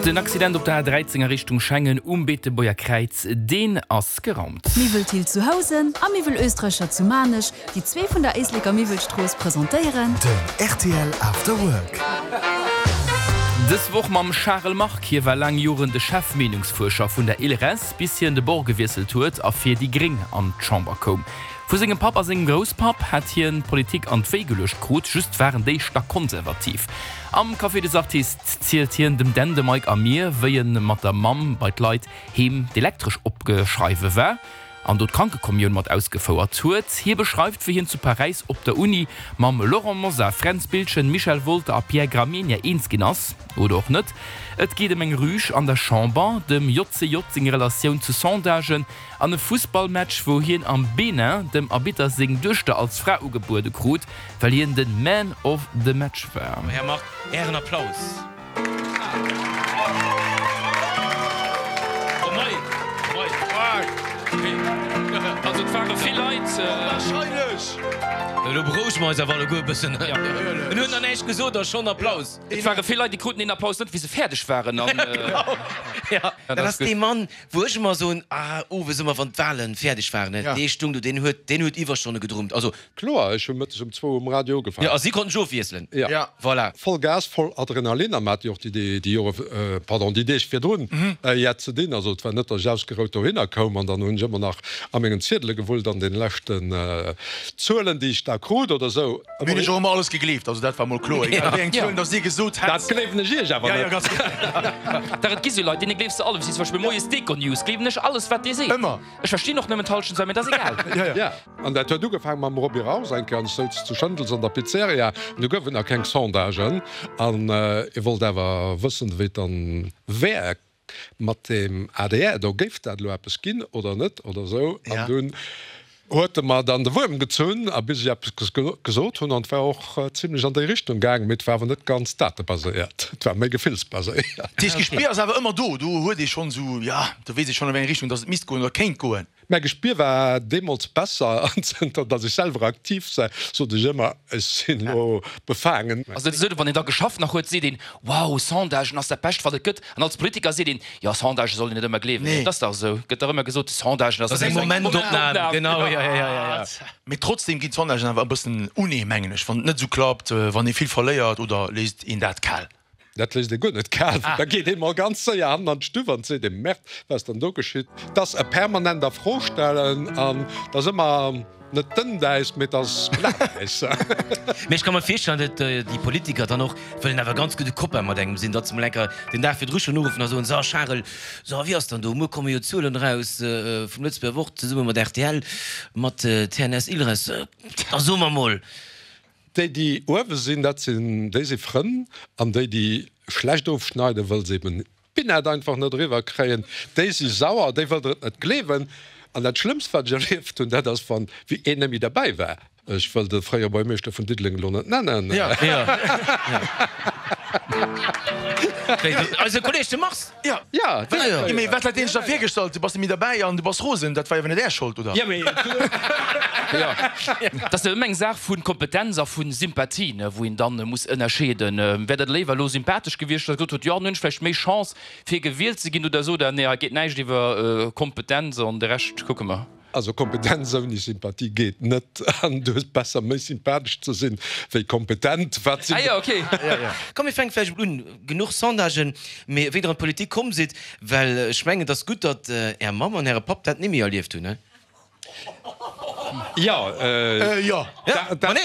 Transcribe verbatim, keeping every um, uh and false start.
Den Accident op der A dräizéng a Richtung Schengen um Beetebuerger Kräiz, deen ass geraumt. Miwwel Thill zu Housen a Miwwel Oesträcher zu Maarnech, déi zwee vun der Éisleker Miwwelstrooss presentéieren. Den rtl After Work. Dës Woch mam Charel Margue. Hie war laang Joren de Chef-Meenungsfuerscher vun der ILReS, bis hien de Bord gewiesselt huet a fir déi Gréng an d'Chamber koum. Vu sengem Papp a sengem Grousspapp hat hien d'Politik an d'Wéi geluecht krut, just waren déi stackkonservativ. Am Café des Artistes zielt hien dem Dan, dem Mike a mir, wéi en mat der Mamm bei d'Leit heem d'Elektresch opgeschreiwe war an do d'Krankekommioun mat ausgefouert huet. Hie beschreift, wéi hien zu Paräis op der Uni mam Laurent Mosar, Fränz Biltgen, Michel Wolter a Pierre Gramegna eens ginn ass, oder och net. Et geet ëm eng Rüg an der Chamber, dem J C J seng Relatioun zu Sondagen an e Fussballmatch, wou hien am Benin dem Arbitter seng Duechter als Fra ugebuede krut, well hien de Man of the Match war. Här Margue, Ären Applaus. Oh mei, mei. Also et ware vill Leit. Onwahrscheinlech! Elo berouege mer eis awer alleguer e bëssen. En huet nach näischt gesot a schonn Applaus. Et ware vill Leit, déi kruten deen Applaus net, wéi se fäerdeg waren. An Ja, dat ass dee Mann, wou ech ëmmer soen, ah, owes ëmmer wann d'Wahlen fäerdeg waren, ne, dee stung do, deen huet, deen huet Iwwerstonne gedrummt. Also. Kloer, ech hu mëttes um zwou um Radio ugefaangen. Jo, a si konnten sech ofwiesselen. Ja. Voilà. Voll Gas, voll Adrenalin a mer hat jo och déi, déi Jore, pardon, déi Deeg virdrun jett ze dinn. Also et war net, datt ech ausgerout dohinner koum an dann hunn ech ëmmer nach a mengen Ziedele gewullt an den leschten Zuelen, déi ech da krut oder sou. Mir hunn iech och ëmmer alles gegleeft, also dat war mol kloer, egal wéi eng Zuelen datt Dir gesot hätt. Dat gleewen ech iech awer net. Dach, et gi sou Leit, deene gleefs de alles. Wéi zum Beispill moies d'Econews, gleewen ech alles, wat dee seet. Ëmmer. Ech verstinn och nëmmen d'Hallschent, mä dat ass egal. Ja, an dat huet ugefaangen mam Roby Raus eng Kéier, an ech souz zu Schëndels an der Pizzeria, an du gouf et nach keng Sondagen, an e wollt awer wëssen, wéi et dann wär mat dem A D R, do géif dat elo eppes ginn oder net oder esou, an dunn huet e mer dann de Wuerm gezunn, a bis ech eppes gesot hunn, an et war och zimlech an déi Richtung gaangen, mee et war awer net ganz datebaséiert, et war méi gefillsbaséiert. Dat heescht, d'Gespier ass awer ëmmer do, do huet ee schonn esou, jo, do weess ee schonn, a wéi eng Richtung datt et misst goen oder kéint goen. Mäi Gespier war deemools besser, an zënter datt ech selwer aktiv sinn, sot ech ëmmer, ech sinn elo befaangen. Ass et esou, wann een da geschafft nach huet, seet een, wow, Sondagen ass dat Bescht wat et gëtt, an als Politiker seet een, jo, Sondagë soll een net ëmmer gleewen. Et ass dach esou, gëtt dach ëmmer gesot, Sondagen ass Dat ass eng Momentopnam, genau, jo, jo, jo, jo. Mee trotzdem ginn d'Sondagen awer e bëssen unee, mengen ech, wann et net esou klappt, wann ee vill verléiert, oder léisst een dat kal? Dat léisst ee guer net kal, well da geet ee mol ganz séier hannen an d'Stuff an seet ee, Merde, wat ass dann do geschitt? Et ass e permanent a Fro stellen an et ass ëmmer net dënnt Äis, mee et ass glat Äis. Mee ech ka mer virstellen, datt déi Politiker dann och wëllen awer ganz gudde Copain mat engem sinn, datt se mol eng Kéier den Dag virdru schonn uruffen a soen, So Charel, so wéi ass dann do, muer komme jo d'Zuelen eraus vum Lëtzebuerger Wort zesumme mat R T L, mat T N S Ilres, da so mer mol. Déi, déi uewe sinn, dat sinn, déi si Frënn, an déi, déi schlecht ofschneiden, wëll se eben d'Binett einfach net eriwwer kréien, déi si sauer, déi wëll der et net gleewen. An dat Schlëmmst, wat ech erlieft hunn, dat ass, wann wéi een net méi derbäi war. Ech wëll de fréiere Buergermeeschter vun Diddeleng elo net nennen. Ja. Eise Kolleg de Mars. Ja. Ja, dee. Mee wat hat deen sech da virgestallt? Du bass net méi derbäi an du bass rosen. Dat war jo awer net Är Schold, oder? Ja, mee. Jo, dat ass jo ëmmer eng Saach vu Kompetenz a vu Sympathie, ne, wou een dann muss ënnerscheeden. Wär dat léiwer elo sympathesch gewiescht, datt e gesot huet, jo, dann hunn ech vläicht méi Chance, fir gewielt ze ginn oder esou, oder nee, hei geet näischt iwwer Kompetenz an de Rescht kucke mer. Also Kompetenz ouni Sympathie geet net, an du hues besser méi sympathesch ze sinn wéi kompetent. Wat sinn. Ah jo, ok. Komm mir fänke vläicht emol un, genuch Sondagen, mee wéi der an d'Politik komm sidd, well ech mengen et ass gutt, datt Är Mamm an Äre Papp dat ni méi erlieft hunn, he? Jo, Jo. Dat.